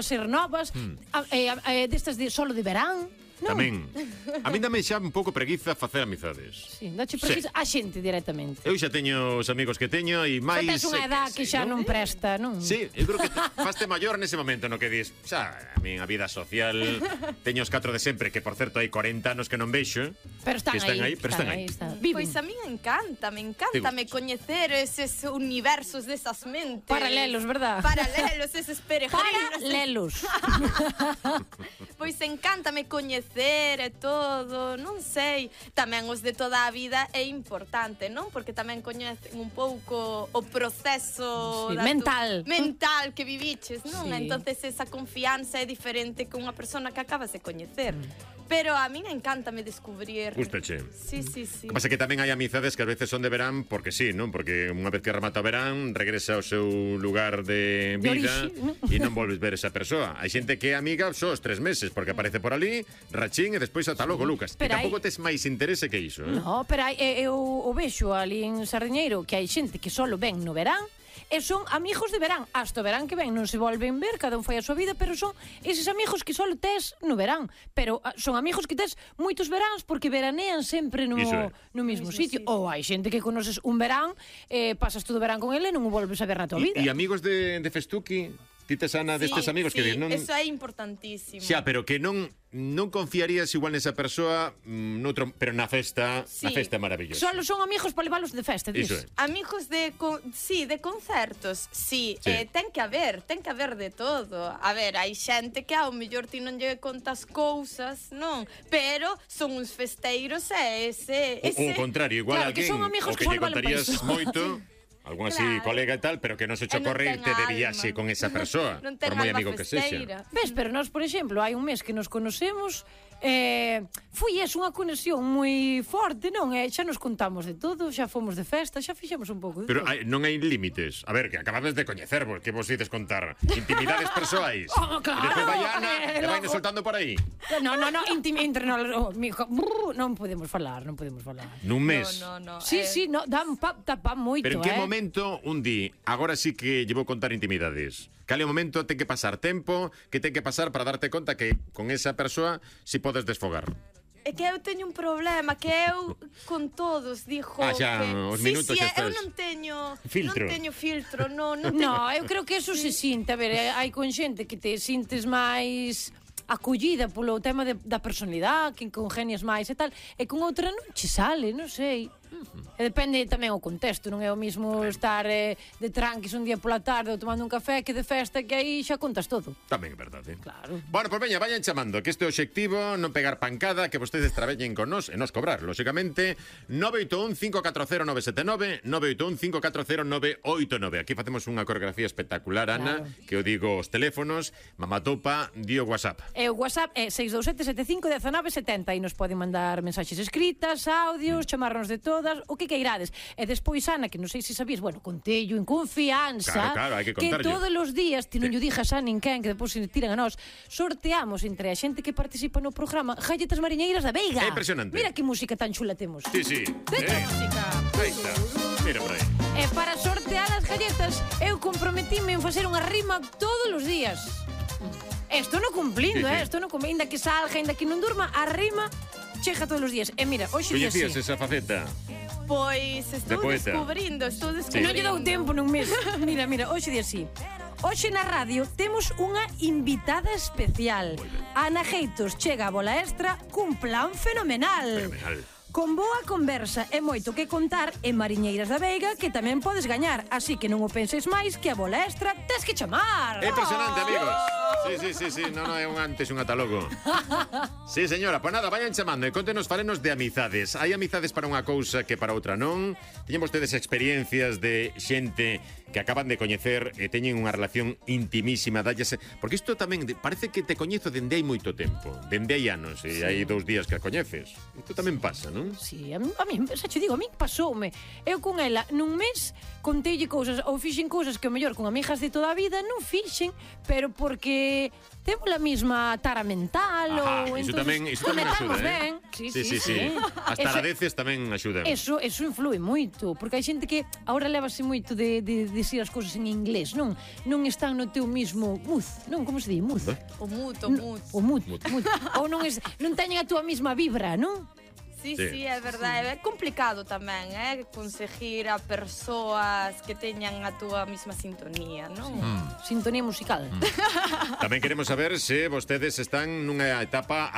ser novas, destas de solo de verán. Non. Tamén. A mí dame xa un pouco preguiza facer amizades. Sí, dache preguiza a xente directamente. Eu xa teño os amigos que teño e máis... Só tes unha edad que xa non presta, non? Sí, eu creo que faste maior nese momento no que dis, xa, a min a vida social teño os 4 de sempre, que por certo hai 40 anos que non vexo. Pero están aí. Pero están aí. Pois a min encántame coñecer eses universos desas mentes. Paralelos, verdad? Paralelos, eses peregrinos. Paralelos. Pois encántame coñecer e todo, non sei. Tamén os de toda a vida é importante, non? Porque tamén coñecen un pouco o proceso mental que viviches, non? Sí. Entonces esa confianza é diferente que unha persona que acabas de coñecer. Pero a min encántame descubrir. Gústache. Sí. O que pasa que tamén hai amizades que a veces son de verán porque sí, non? Porque unha vez que remata o verán regresa ao seu lugar de vida e non volves ver esa persoa. Hai xente que é amiga só os 3 meses porque aparece por ali, rachín e despois ata logo, Lucas. E tampouco tes máis interese que iso, eh? No, pero eu o vexo ali en Sardiñeiro que hai xente que solo ven no verán e son amigos de verán. Hasta o verán que ven non se volven ver, cada un fai a súa vida, pero son eses amigos que solo tes no verán. Pero son amigos que tes moitos veráns porque veranean sempre no mismo sitio. Ou hai xente que conoces un verán, pasas todo o verán con ele e non o volves a ver na tua vida. E amigos de Festuki? Ti tes, Ana, destes amigos que non... eso é importantísimo. Xa, pero que non confiarías igual nesa persoa noutro, pero na festa é maravillosa. Solo son amigos para leválos de festa, dis. Amigos de concertos, ten que haber de todo. A ver, hai xente que ao mellor ti non lle contas cousas, non? Pero son uns festeiros e ese... O contrario, igual claro, alguén que son amigos o que lle contarías moito... Algún así colega e tal, pero que non se cho correrte de viaxe con esa persoa, por moi amigo que sexa. Ves, pero nós, por exemplo, hai un mes que nos conocemos, foi unha conexión moi forte, non? Xa nos contamos de todo, xa fomos de festa, xa fixemos un pouco de pero todo. Non hai límites. A ver, que acabades de coñecervos, que vos ides contar intimidades persoais. Claro. E despois vai Ana e vai soltando por aí. No, entre nós, non podemos falar. Nun mes. No. Sí, dá pa moito, Pero en que momento un di, agora sí que llevo contar intimidades? Cal é o momento, ten que pasar tempo, que ten que pasar para darte conta que con esa persoa si podes desfogar? É que eu teño un problema, que eu con todos digo xa, os minutos xa estás. Eu non teño filtro, non eu creo que eso se sinte, a ver, hai con xente que te sintes máis acollida polo tema da personalidade, que congenias máis e tal, e con outra non che sale, non sei. E depende tamén o contexto, non é o mismo estar de tranquis un día pola tarde ou tomando un café que de festa, que aí xa contas todo. Tamén é verdade. Claro. Bueno, pois veña, vayan chamando, que este é o obxectivo, non pegar pancada, que vostedes traballen con nós e nos cobrar, lóxicamente. 981-540-979, 981-540-989. Aquí facemos unha coreografía espectacular, Ana, que eu digo os teléfonos, Mamatopa, di o WhatsApp. E o WhatsApp é 627751970 e nos poden mandar mensaxes escritas, audios, chamarnos de todas, o que queirades. E despois, Ana, que non sei se sabías, bueno, contello en confianza, claro, hai que que todos os días, ti non lle dixas a ninguén, que depois se tiran a nós, sorteamos entre a xente que participa no programa galletas mariñeiras da Veiga. É impresionante. Mira que música tan chula temos. Sí. Música. Aí está. Mira por aí. E para sortear as galletas, eu comprometíme en facer unha rima todos os días. Estou non cumplindo, estou non cumplindo, ainda que salga, ainda que non durma, a rima chega todos os días. E mira, hoxe día Coñecías esa faceta? Pois estou descubrindo. Non lle dou tempo nun mes. Mira, hoxe día sí. Hoxe na radio temos unha invitada especial. Ana Geitos chega a Bola Extra cun plan fenomenal. Con boa conversa e moito que contar en Mariñeiras da Veiga, que tamén podes gañar. Así que non o penses máis, que a Bola Extra tes que chamar. É impresionante, amigos. Sí, non é un antes, un ata logo. Sí, señora, pois nada, vayan chamando e contenos, falenos de amizades. Hai amizades para unha cousa que para outra non. Teñen vostedes experiencias de xente que acaban de coñecer e teñen unha relación intimísima, dállase, porque isto tamén parece que te coñezo dende hai moito tempo, dende hai anos, e hai 2 días que a coñeces. Isto tamén pasa, non? Sí, a mí, xa te digo, a mí pasoume. Eu con ela, nun mes, conteille cousas, ou fixen cousas que o mellor con amigas de toda a vida non fixen, pero porque temos a mesma tara mental ou iso entonces tamén conectamos axuda, ben. Sí. As taradeces tamén axudan. Eso influe moito, porque hai xente que agora levase moito de decir as cousas en inglés, non están no teu mismo mood, non, como se di, mood? O mood. O mood. Ou non teñen a túa mesma vibra, non? Sí, é verdade. É complicado tamén, conseguir a persoas que teñan a túa mesma sintonía, non? Sintonía musical. Tamén queremos saber se vostedes están nunha etapa a